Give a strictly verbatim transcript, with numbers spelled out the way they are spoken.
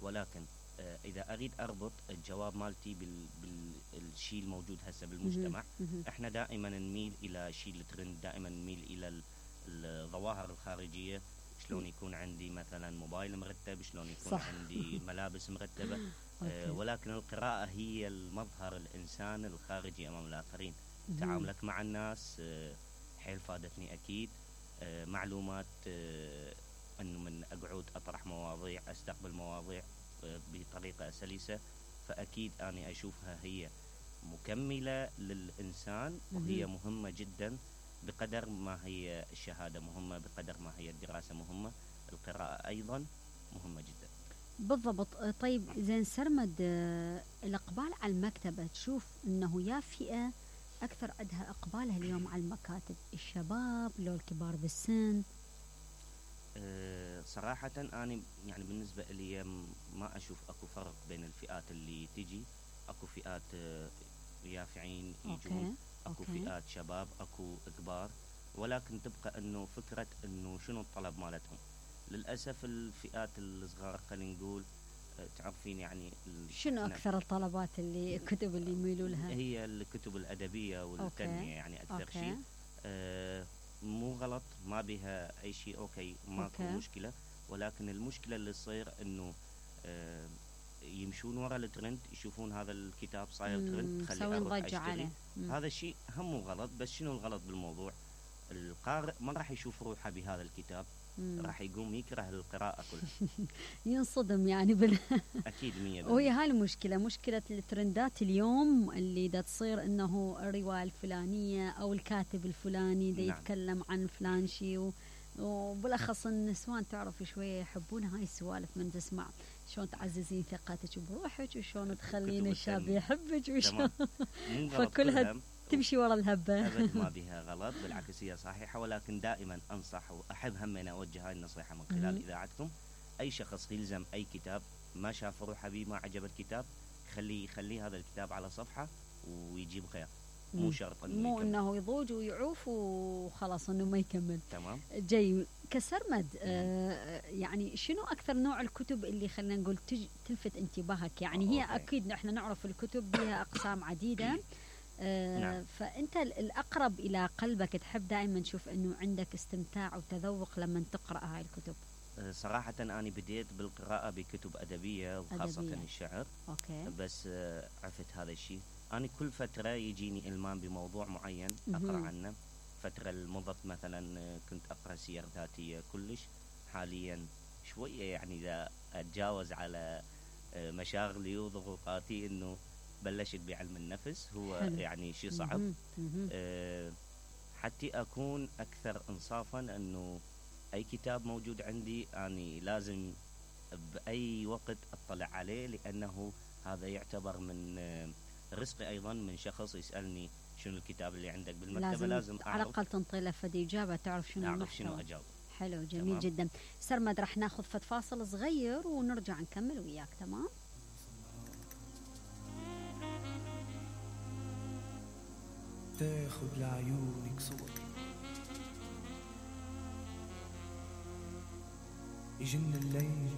ولكن آه، اذا اريد اربط الجواب مالتي بال بالشيء الموجود هسه بالمجتمع، احنا دائما نميل الى شيء الترند، دائما نميل الى ال- الظواهر الخارجيه. شلون يكون عندي مثلا موبايل مرتب، شلون يكون صح. عندي ملابس مرتبه. آه، أوكي. ولكن القراءه هي المظهر الانسان الخارجي امام الاخرين. مهم. تعاملك مع الناس آه، حيل فادتني اكيد. آه، معلومات آه، انه من اقعد اطرح مواضيع، استقبل مواضيع آه، بطريقه سلسه، فاكيد اني اشوفها هي مكمله للانسان، وهي مهم. مهمه جدا. بقدر ما هي الشهاده مهمه، بقدر ما هي الدراسه مهمه، القراءه ايضا مهمه جدا. بالضبط. آه، طيب زين سرمد، آه، الإقبال على المكتبة تشوف أنه يا فئة أكثر عندها إقبالها اليوم على المكاتب، الشباب لو الكبار بالسن؟ أه صراحة أنا يعني بالنسبة لي م- ما أشوف أكو فرق بين الفئات اللي تجي. أكو فئات آه، يافعين يجون، أوكي. أكو أوكي. فئات شباب، أكو كبار، ولكن تبقى أنه فكرة أنه شنو الطلب مالتهم. للأسف الفئات الصغار خلينا نقول آه، تعرفين يعني ال- شنو إحنا أكثر الطلبات اللي الكتب اللي يميلوا لها؟ هي الكتب الأدبية والتنمية أوكي. يعني أكثر أوكي. شيء. آه مو غلط، ما بها أي شيء، أوكي ماكو أوكي. مشكلة. ولكن المشكلة اللي تصير إنه آه يمشون ورا الترند، يشوفون هذا الكتاب صاير ترند، مم، خلي سوين أروح ضجة أشتري. عليه. مم. هذا الشيء هم مو غلط، بس شنو الغلط بالموضوع؟ القارئ ما راح يشوف روحه بهذا الكتاب، مم. راح يقوم يكره القراءة كلها. ينصدم يعني بال أكيد مية وهي بالمية. هاي المشكلة، مشكلة الترندات اليوم اللي دا تصير انه الرواية الفلانية او الكاتب الفلاني دا نعم. يتكلم عن فلان شي و... وبالاخص النسوان تعرف شوية يحبون هاي السوالف، من تسمع شلون تعززين ثقتك بروحك وشلون تخلين كتب الشاب التنمية. يحبك وشلون تمام. مو غلط فكلها كلها، تمشي ورا الهبة. أبد ما بها غلط، بالعكس هي صحيحة. ولكن دائما أنصح وأحب هم أن أوجه هاي النصيحة من خلال مهم. إذاعتكم. أي شخص يلزم أي كتاب ما شاف روحه بيه، ما عجب الكتاب، خليه يخليه هذا الكتاب على صفحة ويجيب غير. مو مم. شرط إنه مو يكمل. انه يضوج ويعوف وخلاص انه ما يكمل. تمام. جاي كسرمد. آه يعني شنو اكثر نوع الكتب اللي خلينا نقول تج تلفت انتباهك؟ يعني آه، هي أوكي. اكيد نحن نعرف الكتب بها اقسام عديده. آه نعم. فانت ال- الاقرب الى قلبك تحب دائما تشوف انه عندك استمتاع وتذوق لما تقرا هاي الكتب؟ أه، صراحة أنا بديت بالقراءة بكتب أدبية وخاصة أدبية. الشعر. اوكي. بس أه، عفت هذا الشيء. أنا كل فترة يجيني إلمام بموضوع معين أقرأ مهم. عنه. فترة المضت مثلا أه، كنت أقرأ سير ذاتية كلش. حاليا شوية يعني إذا أتجاوز على أه، مشاغلي وضغوطاتي، إنه بلشت بعلم النفس. هو حلو. يعني شيء صعب. مهم. مهم. أه، حتى أكون أكثر إنصافا، أنه أي كتاب موجود عندي أني لازم بأي وقت أطلع عليه، لأنه هذا يعتبر من آه، رزقي أيضا من شخص يسألني شنو الكتاب اللي عندك بالمكتبة. لازم, لازم على أعرف الاقل تنطي له فد اجابه تعرف شنو أعرف المحتوى. شنو أجاوب. حلو، جميل تمام. جدا. سرمد راح ناخذ فد فاصل صغير ونرجع نكمل وياك. تمام. تاخد لعيونك صوتي، يجن الليل